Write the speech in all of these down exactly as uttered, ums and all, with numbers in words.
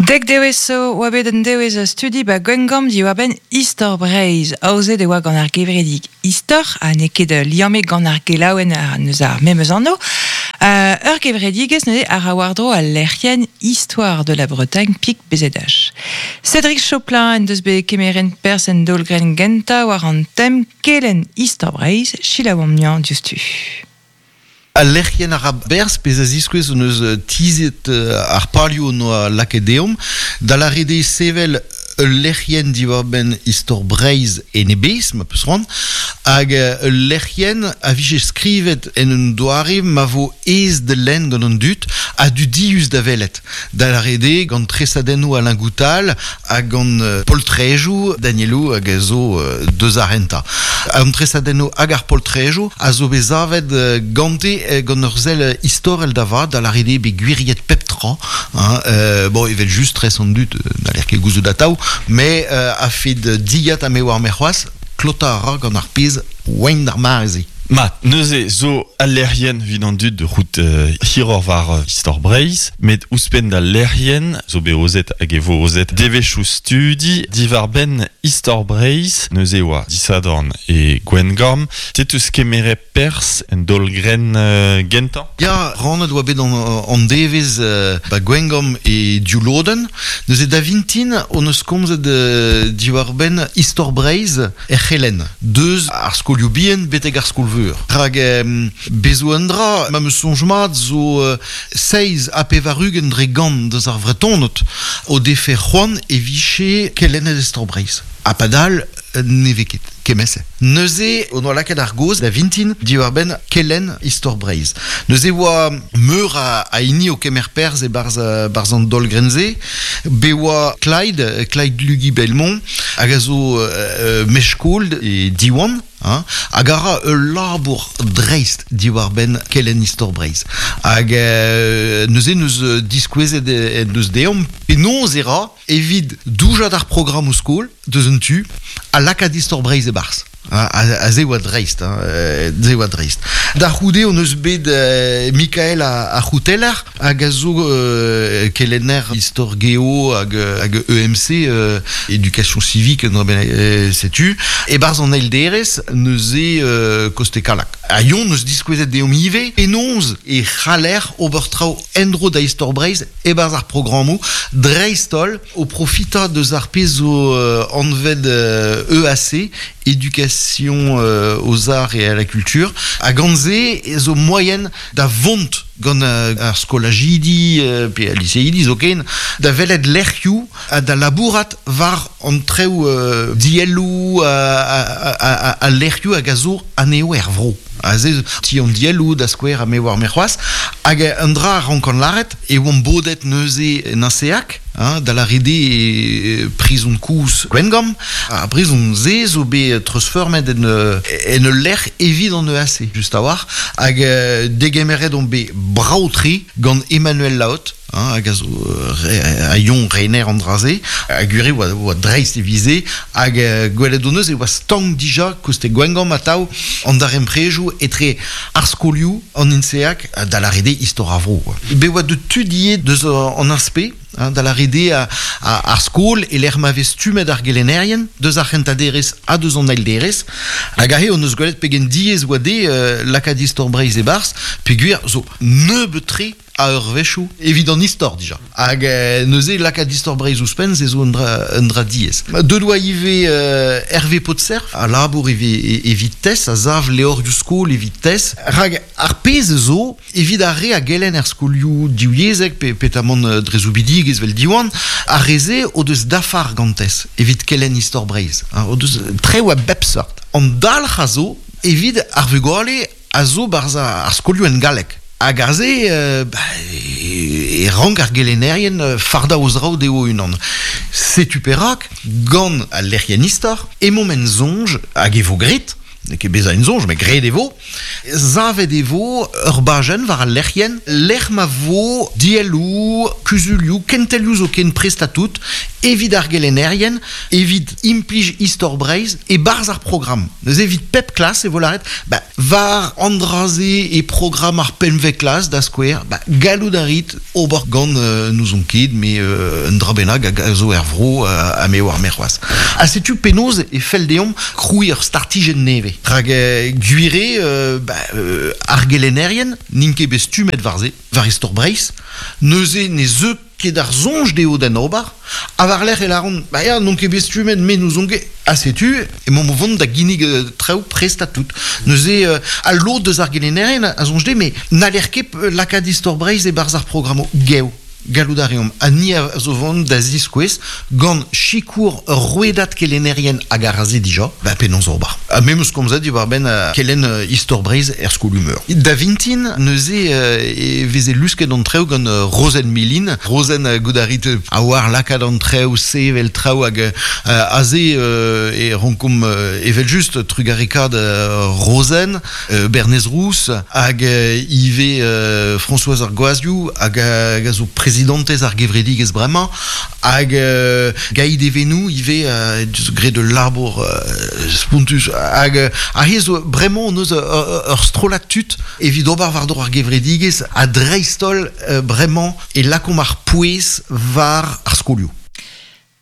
Dek dewez zo oa bet un dewez studi ba Gwengamp diwar-benn Istor Breizh. Aozet e oa gant ar gevredigezh Istor, ha n'eo ket liammet gant ar gelaouenn ar neus ar memes anv. Uh, ur gevredigezh neuze a ra war-dro al lec'hienn Histoire de la Bretagne pik B Z H. Cédric Choplin en deus bet kemeret perzh en daol-grenn gentañ war an tem kelenn Istor Breizh, selaouomp niañ diouzhtu. Al lec'hienn a ra berzh pezh a ziskouez hon eus tizhet ar palioù noa lakaet deomp, da lâret eo sevel ul lec'hienn diwar-benn Istor Breizh en e bezh, ma peus c'hoant, hag ul lec'hienn a vije skrivet en un doare ma vo aes da lenn gant an dud ha dudius da welet. Da lâret eo gant tresadennoù Alain Goutal hag gant poltrejoù Danielou hag a zo deus ar rentañ. An tresadennoù hag ar poltrejoù a zo bet savet gante gant ur sell istorel da vat, da lâret eo bet gwiriet pep tra. Hein, euh, bon, evel just tres an dud, n'haller ket gouzout atav, mais euh, a fet dilhad ha me war me c'hoazh, klotañ a ra gant ar pezh oain d'ar mare-se. Mat, neuze zo al lec'hienn evit an dud rout euh, hiroc'h war euh, Istor Breizh, met ouzhpenn d'al lec'hienn zo bet ozet hag e vo ozet devezhioù studi diwar-benn Istor Breizh, neuze oa disadorn e Gwengamp. Te teus kemeret perzh en daol-grenn euh, gentañ? Ya, rannet oa bet an, an devezh euh, ba Gwengamp e div lodenn. Neuze da vintin hon eus komzet euh, diwar-benn Istor Breizh er c'helenn. Deus ar skolioù bihan betek ar skol-veur. Rak euh, bezo un dra, ma me soñj mat zo euh, seizh ha pevar-ugent dre gant deus ar Vretoned o defe c'hoant e vije kelennet Istor Breizh. Ha padal ne vez ket kement-se. Neuze on oa lakaet ar gaoz da vintin diwar-benn kelenn Istor Breizh. Neuze oa meur a, a hini o kemer perzh e barzh, barzh an daol-grenn-se. Be oa Clyde, Clyde Lugi Belmont, hag a zo euh, mestr-skol e Diwan, hein, hag a ra ul labour dreist diwar-benn kelenn Istor Breizh. Hag euh, neuze neus diskouezet e, neus deomp penaos e ra evit doujañ d'ar programm o skol, deus un tu, ha lakaat Istor Breizh e barzh. A, a, a ze oa dreist, hein, ze oa dreist. Da c'houde hon eus bet euh, Mikael a, a C'houteller hag a zo euh, kelenner Istor Geo hag, hag E M C, euh, Éducation Civique, non, ben, euh, setu. E barzh an eil derez neuze euh, koste Kalak. A yon neus diskouezet deomp ivez penaos e c'haller ober traoù endro da Istor Breizh e barzh ar programmoù dreist-holl o profitañ deus ar pezh zo euh, anvet euh, E A C, Éducation euh, aux arts et à la culture, hag gant se zo moyen da vont gant euh, ar skolajidi euh, pe al liseidi zoken, da welet lec'hioù ha da labourat war an treoù euh, dielloù a, a, a, a, a lec'hioù hag a zo anezho er vro. A se ti an dielloù da skouer ha me war me c'hoazh, hag un dra a rank an lâret e oamp bodet neuze en Aseak, hein, da lâret eo prizon koulz Gwengamp. Ar prizon se zo bet treuzfeurmet en, en ul lec'h evit an E A C, just a-walc'h, hag euh, degemeret on bet brav-tre gant Emmanuel Laot, hein, hag a zo re, a yon rener an dra-se, hag ure oa, oa dreist e vize, hag euh, gwelet hon eus e oa stank dija koste Gwengamp atav an daremprejoù etre ar skolioù an INSEAC da lâret eo Istor ar vro. Bet oa de tudier deus an aspe, hein, da lâret eo a, a, ar skol e lec'h ma vez stummet ar gelennerien deus ar c'hentañ-derez ha deus an eil-derez, hag aze hon eus gwelet pegen diaes oa dezhe euh, lakaat Istor Breizh e barzh, peogwir zo nebeut-tre a eurvezhioù evit an istor dija. Hag euh, neuze lakaat Istor Breizh ouzhpenn se zo un dra, un dra diaes. Deut oa ivez euh, Hervé Potserf, a labour ivez evit TES, a sav levrioù skol evit TES. Rak ar pezh zo evit ar re a gelenn er skolioù divyezhek pe petamant euh, dre zoubidigezh vel Diwan, ar re-se o deus dafar gant TES evit kelenn Istor Breizh. Hein, o deus treoù a bep seurt. An dalc'h a zo evit ar vugale a zo barzh ar skolioù en galleg. Hag ar se, euh, ba, e, e rank ar gelennerien euh, fardañ o zraoù dezho unan. Setu perak, gant al lec'hienn istor, emaomp en soñj, hag e vo graet, Ne ket beza en zonj, met graet e vo. Zavet e vo ur bajenn war al lec'hienn, lec'h ma vo dielloù, kuzulioù, kentelioù zo ken prest a tout, evit ar gelennerien, evit implij Istor Breizh e barzh ar programm. Neuze evit pep klas e vo lâret, ba, war an dra-se e programm ar pemvet klas da skouer, ba, gallout a rit ober gant euh, n'ouzon ket, me euh, un dra bennak hag a zo er vro euh, ha me war me c'hoazh. Ha setu penaos e fell deomp krouiñ ur startijenn nevez. Rak euh, gwir eo euh, ba, euh, ar gelennerien n'int ket bet stummet war-se, war Istor Breizh, neuze ne zeu ket ar soñj dezho d'en ober, ha war-lerc'h e lâront, ba ya, n'on ket bet stummet, me n'ouzon ket, ha setu, emaomp o vont da ginnig euh, traoù prest a tout. Neuze, euh, al lod deus ar gelennerien a soñj dezhe, mais n'haller ket lakaat Istor Breizh e-barzh ar programmoù gev. Gallout a reomp, ha ni a zo vont da ziskouez gant sikour ur rouedad kelennerien hag ar aze dija, ba penaos ober. Ha me 'meus komzet diwar-benn uh, kelenn uh, Istor Breizh er skol-humeur. Da vintin, neuze uh, e veze lusket an traoù gant uh, Rozenn Milin. Rozenn uh, goût a rit a oar lakaat an traoù, sevel traoù hag uh, aze uh, e rankomp uh, evel just trugarekaat uh, Rozenn, uh, Bernez Rouz, hag uh, ivez uh, Françoise ar Goazioù, hag, hag a zo prezidantez ar gevredigezh bremañ, hag euh, Gaïd Evenou ivez euh, deus graet ul labour euh, spontus hag euh, aze zo bremañ on eus ur strollad tud evit ober war-dro ar gevredigezh ha dreist-holl euh, bremañ e lakaomp ar pouez war ar skolioù.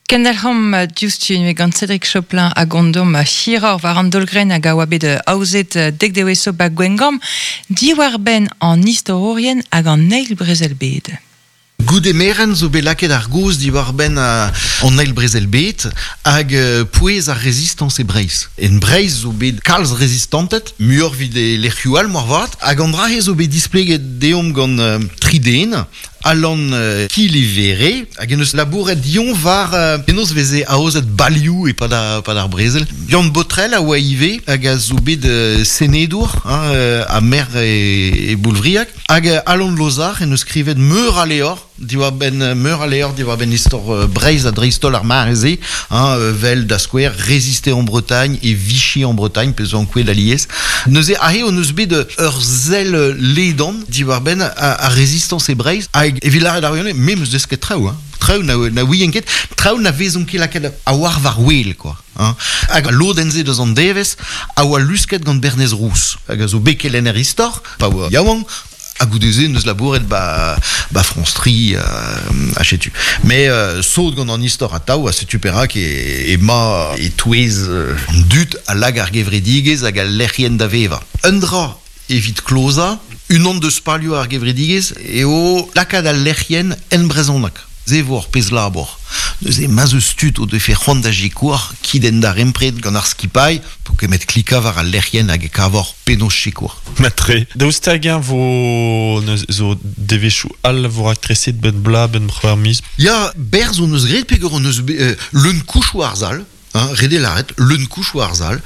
Kendelc'homp diouzhtu ivez gant Cédric Choplin hag ondom hiroc'h war an daol-grenn hag a oa bet aozet dek devezh zo ba Gwengamp diwar-benn an istorourien hag an eil brezel bed. Goude merenn zo bet lakaet ar gaoz diwar-benn uh, an eil brezel bed hag uh, pouez ar rezistañs e Breizh. En Breizh zo bet kalz rezistanted, muioc'h evit e lec'hioù all moarvat, hag an dra-se zo bet displeget deomp gant uh, tri den, Alan uh, Kilivere, hag en eus labouret dion war uh, penaos veze aozet balioù e pad ar, pad ar brezel. Yann Botrel a oa ivez hag a zo bet uh, senedour hein, uh, ha maer e, e Boulvriag. Hag uh, Alan Lozar en eus skrivet meur a levr diwar-benn meur a levr diwar-benn istor uh, Breizh ha dreist-holl ar mare-se, hein, uh, vel da skouer Résister en Bretagne et Vichy en Bretagne, pe zo ankouaet alies. Neuze aze hon eus bet ur sell ledan diwar-benn ar, ar rezistañs e Breizh hag evit lâret ar wirionez, me 'meus desket traoù, hein. Traoù na, na ouien ket, traoù na vezont ket lakaet a war war wel, quoi. Hein. Hag al lodenn-se deus an devezh a oa lusket gant Bernez Rouz, hag a zo bet kelenner istor, pa oa yaouank, ha goude-se neus labouret ba, ba France Tri euh, ha setu. Mais euh, sot gant an istor atav, ha setu perak e, ema e-touez euh, an dud a lag ar gevredigezh hag al lec'hienn da vevañ. Un dra evit klozañ, unan deus palioù ar gevredigezh eo lakaat al lec'hienn en brezhoneg. Se vo ur pezh labour. Neuze ma'z eus tud o defe c'hoant da sikour kit en darempred gant ar skipailh po kemet klikañ war al lec'hienn hag e kavor penaos sikour. Matre. Daoust hag-eñ vo neuze zo devezhioù all vo raktreset benn bloaz, benn c'hwec'h miz? Ya, berzh hon eus graet peogwir hon eus bet, euh, leun kouch war ar sal, hein, ret eo lâret, leun kouch war ar sal,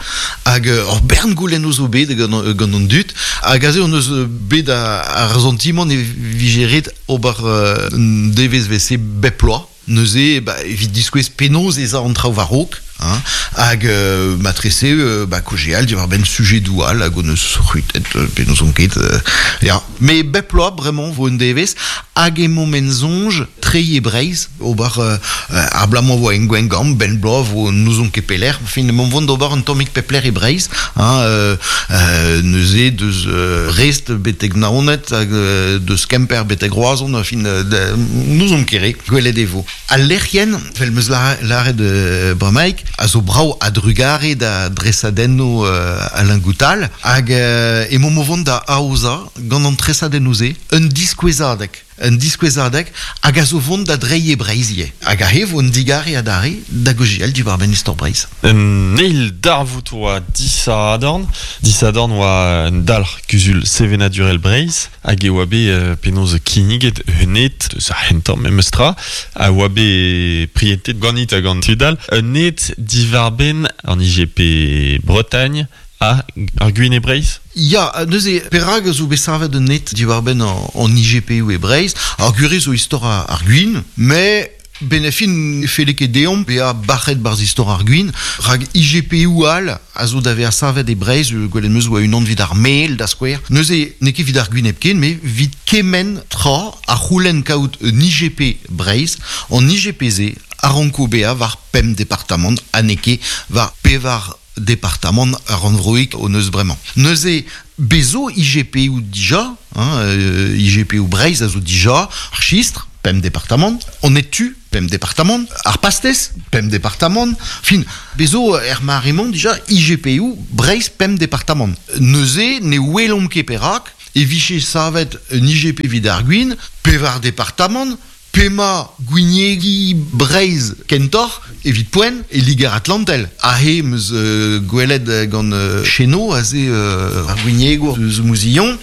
hag euh, ur bern goulennoù zo bet gant, gant an dud, hag aze hon eus bet ar santimant e vije ret ober euh, un devezh 'vel-se bep bloaz. Neuze, ba, evit diskouez penaos ez a an traoù war-raok, hein, hag euh, matrese euh, ba, kaozeal diwar-benn sujedoù all hag hon eus c'hwitet euh, pe n'ouzon ket. Euh, ya. Mais bep bloaz, bremañ, vo un devezh, hag emaomp en soñj treiñ e Breizh, ober euh, ar bloaz-mañ vo en Gwengamp, benn bloaz vo n'ouzon ket pelec'h, fin emaomp vont d'ober un tammig pep lec'h e Breizh, hein, euh, euh, neuze deus euh, Brest betek Naoned, hag euh, deus Kemper betek Roazhon, fin euh, n'ouzon ket re, gwelet e vo. Al lec'hienn, vel 'meus lâret euh, bremaik, a zo brav a-drugare da dresadennoù euh, Alain Goutal, hag euh, emaomp o vont da aozañ gant an tresadennoù-se, un diskouezadeg. Un diskouezadeg hag a zo vont da dreiñ e Breizh ivez. Hag aze vo un digare adarre da gaozeal diwar-benn istor Breizh. Un eil darvoud oa disadorn. Disadorn oa un dalc'h kuzul sevenadurel Breizh hag e oa bet euh, penaos kinniget un het deus ar c'hentañ memes tra a oa bet prientet ganit hag an tud all. Un het diwar-benn an I G P Bretagne ha ar gwin e Breizh? Ya, neuze, perak zo bet savet un het diwar-benn an, an I G P U e Breizh, ar gwir zo istor ar, ar gwin, mais Benefin felle ket deomp bea bac'het barz istor ar gwin, rag I G P U al a zo da vea savet e Breizh, gwelet meus oa unan vid ar mel da skouer. Neuze n'eo ket vid ar gwin hepken, met vid kement tra a c'houlenn kaout un I G P Breizh, an I G P se a ranko bea war pemp departamant, ha n'eo ket war pevar departamant ar rannvroik o neus bremañ. Neuze bezo I G P U dija, hein, euh, I G P U Breizh a zo dija, ar chistr, pemp departamant, on est tu, pemp departamant, ar pastez, pemp departamant, fin, bezo er marimont dija I G P U Breizh pemp departamant. Neuze ne welomp ket perak, e viche savet un I G P vid ar gwin, pevar departamant, pema gwiniegi Breizh kentor, evit poent, e Liger Atlantel. Ahe meus euh, gwelet gant euh, Cheno, aze euh, ar gwiniegour eus Mouzillon,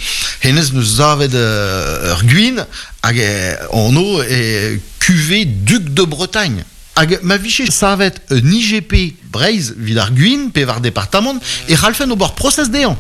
hennezh neus savet euh, ur gwin, hag anv e cuvée Duc de Bretagne. Hag ma viche savet un I G P Breizh vid ar gwin, pevar departamant, e c'hallfen ober prosez dezhañ.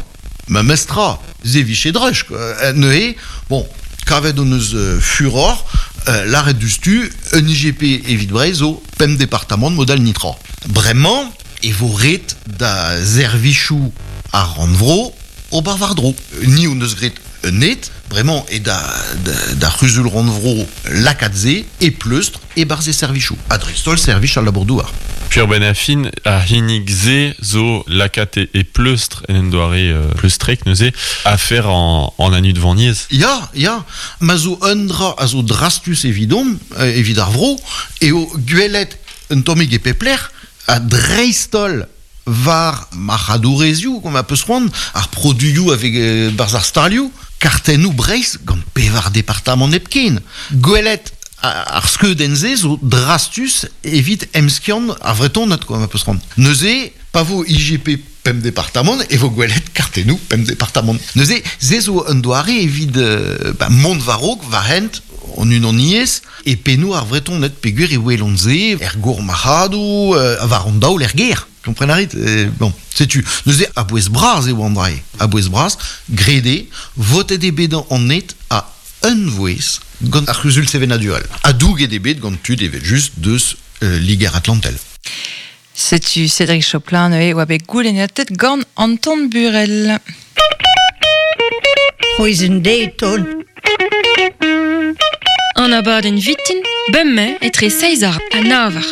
Ma mestra, ze viche drech, quoi. Neuze, bon, kavet hon eus euh, furor, euh, l'arrêt du stu, un I G P evit Breizh zo pemp departamant modal nitra. Bremañ, e vo ret da zervichou ar rannvro ober war-dro. Ni hon eus graet un net, bremañ e da, da, da c'huzul rannvro lakatze e pleustr e barz e servichou. A dreist-holl servich al labour-douar. Pur ben a fin, a hinig ze zo lakat e, e pleustr en en doare euh, pleustrek neuze a fer en, en anu de vaniez. Ya, ya, ma zo un dra a zo drastus evidom, euh, evit ar vro, e o gwelet un tammig e pepler, a dreist-holl war marc'hadourezioù, kom a peus c'hoant, ar produioù avec euh, barz ar stalioù, kartennoù Breizh gant pevar departamant hepken. Gwelet ar skeudenn se zo drastus evit emskiant ar vretoned, quoi, ma peus c'hoant. Neuze, pa vo I G P pemp departamant, e vo gwelet kartennoù pemp departamant. Neuze, se zo un doare evit euh, ba, mont war-raok, war hent, an unaniez, e pennoù ar vretoned peogwir e welont se, er gour marc'hadoù, euh, war an daol er gêr. Kompren a rit? Eh, bon, setu. Neuze, a bouez bras eo an drae. A bouez bras, grede, votet eo bet an net a un vouez gant ar c'huzul sevenadural. A douget eo bet gant tud evel just deus euh, Liger Atlantel. Setu Cédric Choplin neuze oa bet goulennatet gant Anton Burel. C'hwezh deton. An abadenn vitin, bemmañ etre seizh ar ha navar.